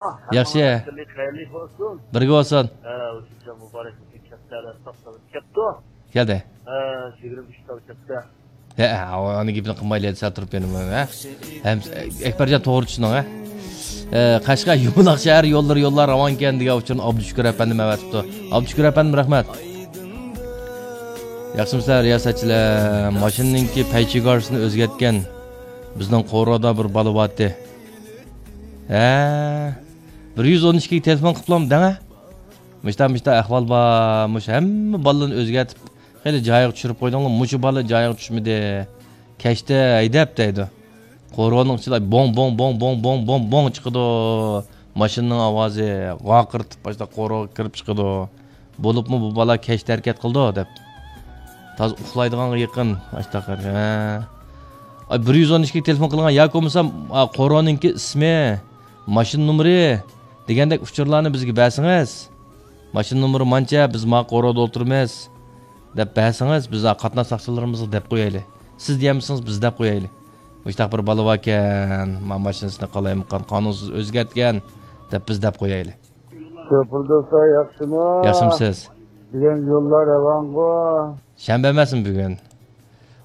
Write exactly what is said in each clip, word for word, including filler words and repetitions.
ياخشى. بىرگە بولسۇن. مۇبارەك بولسۇن، كەپتە، توختىلىپ كەپتۇ. كەلدى. يىگىرمە ئۈچ تال كەپتە. ھە، ئۇنى گېپىنى قىلمايلى، سەل تۇرۇپ بېرىمەن، ھە؟ ھەم ئەكبەرجان توغرا چۈشىنىڭ، ھە؟ ئە، قەشقەر يۇمىلاق شەھەر يوللىرى يوللار راۋانكەن دېگەن ئۇچۇرنى ئابدۇشۈكۈر ئەپەندىم ئەۋەتىپتۇ. ئابدۇشۈكۈر ئەپەندىم، رەھمەت. ياخشىمۇسىلەر، رىياسەتچىلەر؟ ماشىنىنىڭكى پەي چېگراسىنى ئۆزگەرتكەن بىزنىڭ قورۇدا بىر بالا بارتى. ھە، بىر يۈز ئون ئىككىگە تېلېفون قىلىپلام دەڭە. مۇشتا، مۇشتا ئەھۋال بار، مۇشۇ ھەممە بالىلارنى ئۆزگەرتىپ، خېلى جايىغا چۈشۈرۈپ قويدۇڭلار، مۇشۇ بالا جايىغا چۈشمىدى. كەچتە ھەيدەپ دەيدۇ. قورۇنىڭ ئىچىدە بوڭ، بوڭ، بوڭ، بوڭ، بوڭ، بوڭ، بوڭ چىقىدۇ. ماشىنىنىڭ ئاۋازى ۋارقىرىتىپ، باشتا قورۇغا كىرىپ چىقىدۇ. بولۇپمۇ بۇ بالا كەچتە ھەرىكەت قىلىدۇ، دەپ. تازا ئۇخلايدىغانغا يېقىن، ئاشتاق. ھە. ئاي، بىر يۈز ئون ئىككىگە تېلېفون قىلغان ياكى بولمىسا، ئا، قورۇنىڭكى ئىسمى، ماشىنا نومۇرى دېگەندەك ئۇچۇرلارنى بىزگە بەرسىڭىز. ماشىنا نومۇرى مانچە، بىز ما قورۇدا ئولتۇرىمىز، دەپ بەرسىڭىز، بىز قاتناش ساقچىلىرىمىزغا دەپ قويايلى. سىز دېيەلمىسىڭىز، بىز دەپ قويايلى. مۇشتاق بىر بالا باركەن، ما ماشىنىسىنى قالايمىقان قانۇنسىز ئۆزگەرتكەن، دەپ بىز دەپ قويايلى. شوپۇر دوستلار، ياخشىمۇ؟ ياخشىمۇسىز؟ بۈگۈن يوللار راۋانغۇ؟ شەنبە ئەمەسمۇ بۈگۈن؟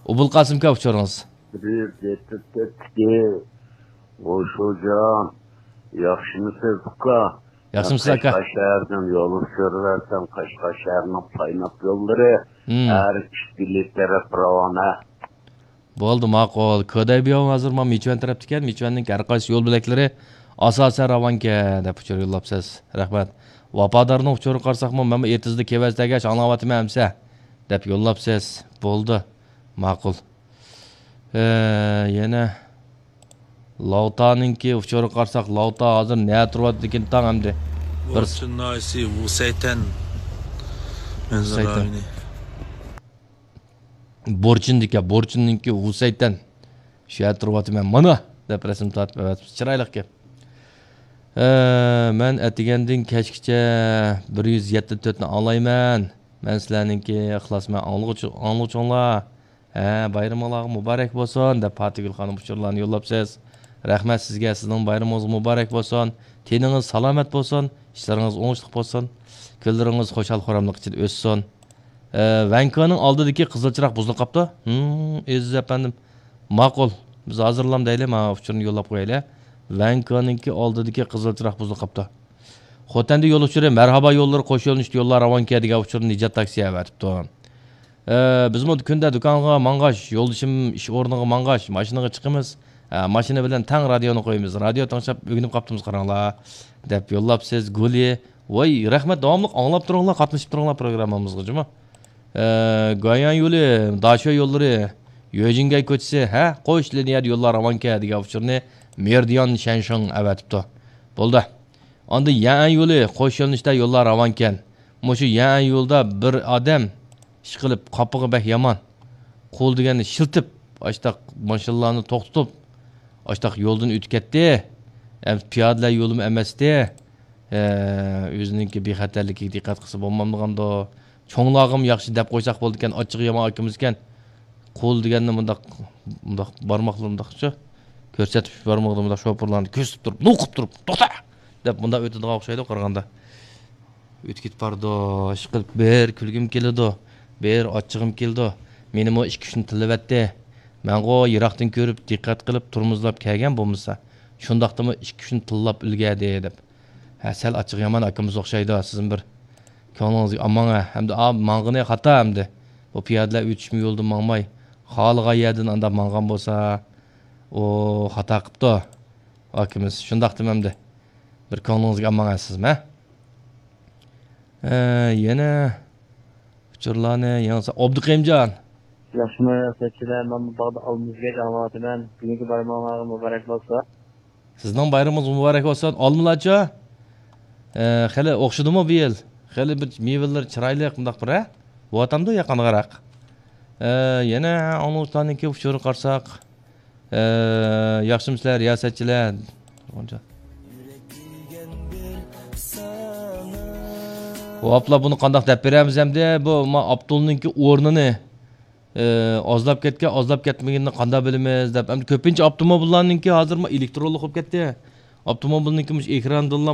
ئوبۇلقاسىمكا ئۇچۇرىڭىز. بىر يۈز يەتتە تۆتتىكى، خوش خوجام، ياخشىمۇسىز ئۇكا؟ ياخشىمۇسىز ئاكا؟ قەشقەر شەھەردىن يول ئۇچۇرى بەرسەم، قەشقەر شەھىرىنىڭ پايناپ يوللىرى، ھەر ئىككى بېلەت تەرەپ راۋانە. بولدى، ماقۇل. كۆدەي بىياۋ ھازىر مانا مىچۈەن تەرەپتىكەن. مىچۈەننىڭ ھەر قايسى يول بۆلەكلىرى ئاساسەن راۋانكەن، دەپ ئۇچۇر يوللاپسىز. رەھمەت. ۋاپادارنىڭ ئۇچۇرىغا قارىساقمۇ، مەنمۇ ئېتىزدا كېۋەز تەگەچ ئاڭلاۋاتىمەن ئەمسە، دەپ يوللاپسىز. بولدى، ماقۇل. ئە، يەنە لاۋتانىڭكى ئۇچۇرىغا قارىساق، لاۋتا ھازىر نەدە تۇرۇۋاتىدىكىن تاڭ ئەمدى؟ بىر بورچىن ناھىيەسى ۋۇسەيتەن مەنزىرە رايونى. بورچىندىكى، بورچىننىڭكى ۋۇسەيتەن. شۇ يەردە تۇرۇۋاتىمەن، مانا، دەپ رەسىم تارتىپ ئەۋەتىپسىز. چىرايلىق گەپ. ئە، مەن ئەتىگەندىن كەچكىچە بىر يۈز يەتتە تۆتنى ئاڭلايمەن. مەن سىلەرنىڭكى ئىخلاسمەن ئاڭلىغۇچى-، ئاڭلىغۇچىڭلار. ھە، بايرىمىڭلارغا مۇبارەك بولسۇن، دەپ پاتىگۈل خانىم ئۇچۇرلارنى يوللاپسىز. رەھمەت سىزگە، سىزنىڭ بايرىمىڭىزغا مۇبارەك بولسۇن. تېنىڭىز سالامەت بولسۇن، ئىشلىرىڭىز ئوڭۇشلۇق بولسۇن، كۈنلىرىڭىز خۇشال-خۇراملىق ئىچىدە ئۆتسۇن. ئە، ۋەنكونىڭ ئالدىدىكى قىزىل چىراغ بۇزۇلۇپ قاپتۇ. ھىم، ئەزىز ئەپەندىم. ماقۇل. بىز ھازىرلام دەيلى، مانا ئۇچۇرنى يوللاپ قويايلى. ۋەنكونىڭكى ئالدىدىكى قىزىل چىراغ بۇزۇلۇپ قاپتۇ. خوتەندە يول ئۇچۇرى، مەرھابا يوللىرى قوش يۆنىلىشتە يوللار راۋانكەن دېگەن ئۇچۇرنى نىجات تاكسى ئەۋەتىپتۇ. ئە، بىزمۇ كۈندە دۇكانغا ماڭغاچ، يولدىشىم ئىش ئورنىغا ماڭغاچ، ماشىنىغا چىقىمىز. ئە، ماشىنا بىلەن تەڭ رادىيونى قويىمىز. رادىيو تىڭشاپ ئۆگىنىپ قاپتىمىز، قاراڭلار، دەپ يوللاپسىز. گۇلى، ۋاي، رەھمەت، داۋاملىق ئاڭلاپ تۇرۇڭلار، قاتنىشىپ تۇرۇڭلار پروگراممىمىزغا جۇمۇ. ئە، گۇەنيان يولى، داشۆ يوللىرى، يۆجىنگەي كوچىسى، ھە، قوش لىنىيەدە يوللار راۋانكەن دېگەن ئۇچۇرنى مېرىدىيان شەنشىڭ ئەۋەتىپتۇ. بولدى. ئاندىن يەنئەن يولى، قوش يۆنىلىشتە يوللار راۋانكەن. مۇشۇ يەنئەن يولىدا بىر ئادەم ئىشقىلىپ، قاپىقى بەك يامان. قول دېگەننى شىلتىپ، ئاشتاق ماشىنىلارنى توختىتىپ، ئاشتاق يولدىن ئۆتۈپ كەتتى. ئەمدى پىيادىلەر يولىمۇ ئەمەستى. ئە، ئۆزىنىڭكى بىخەتەرلىكىگە دىققەت قىلسا بولمامدىغاندۇ؟ چوڭلارغىمۇ ياخشى دەپ قويساق بولىدىكەن، ئاچچىقى يامان ئاكىمىزكەن. قول دېگەننى مۇنداق، مۇنداق بارماقلىرى مۇنداقچۇ، كۆرسەتىپ بارمىقىدا مۇنداق شوپۇرلارنى كۆرسىتىپ تۇرۇپ، نوقۇپ تۇرۇپ، توختا! دەپ مۇنداق ئۆتىدىغان ئوخشايدۇ قارىغاندا. ئۆتۈپ كېتىپ بارىدۇ، ئىشقىلىپ بىر كۈلگۈم كېلىدۇ، بىر ئاچچىقىم كېلىدۇ. مېنىمۇ ئىككى-ئۈچنى تىللىۋەتتى. مەنغۇ يىراقتىن كۆرۈپ، دىققەت قىلىپ، تورمۇزلاپ كەلگەن بولمىسا، شۇنداقتىمۇ ئىككى-ئۈچنى تىللاپ ئۈلگەردى، دەپ. ھە، سەل ئاچچىقى يامان ئاكىمىز ئوخشايدۇ، سىزمۇ بىر كۆڭلىڭىزگە ئالماڭ، ھە. ھەمدە ئا، ماڭغىنى خاتا ئەمدى. بۇ پىيادىلەر ئۆتۈشمە يولدىن ماڭماي، خالىغان يەردىن ئانداق ماڭغان بولسا، ئۇ خاتا قىپتۇ، ئاكىمىز. شۇنداقتىمۇ ئەمدى بىر كۆڭلىڭىزگە ئالماڭ، ھە، سىزمۇ، ھە. ئە، يەنە ئۇچۇرلارنى يېڭىسا، ئابدۇقېيىمجان. ياخشىمۇ، سەتچىلەر، مەن بۇ باغدا ئالما ئۈزگەچ ئاڭلاۋاتىمەن. بۈگۈنكى بايرىمىڭلارغا مۇبارەك بولسۇن. سىزنىڭ بايرىمىڭىز مۇبارەك بولسۇن. ئالمىلارچۇ؟ ئە، خېلى ئوخشىدىمۇ بۇ يىل؟ خېلى بىر مېۋىلىرى چىرايلىق، مۇنداق بىر، ھە؟ بولۇۋاتامدۇ ياقانغىراق؟ ئە، يەنە ئاڭلىغۇچىلارنىڭكى ئۇچۇرىغا قارىساق، ئە، ياخشىمۇسىلەر، رىياسەتچىلەر؟ ۋاپلا، بۇنى قانداق دەپ بېرەمىز ئەمدى؟ بۇ ما ئاپتولنىڭكى ئورنىنى، ئە، ئازلاپ كەتكەن، ئازلاپ كەتمىگىنىنى قانداق بىلىمىز دەپ. ئەمدى كۆپىنچە ئاپتوموبىللارنىڭكى ھازىر ما ئېلېكترونلۇق بولۇپ كەتتى. ئاپتوموبىلنىڭكى مۇشۇ ئېكرانىدىنلا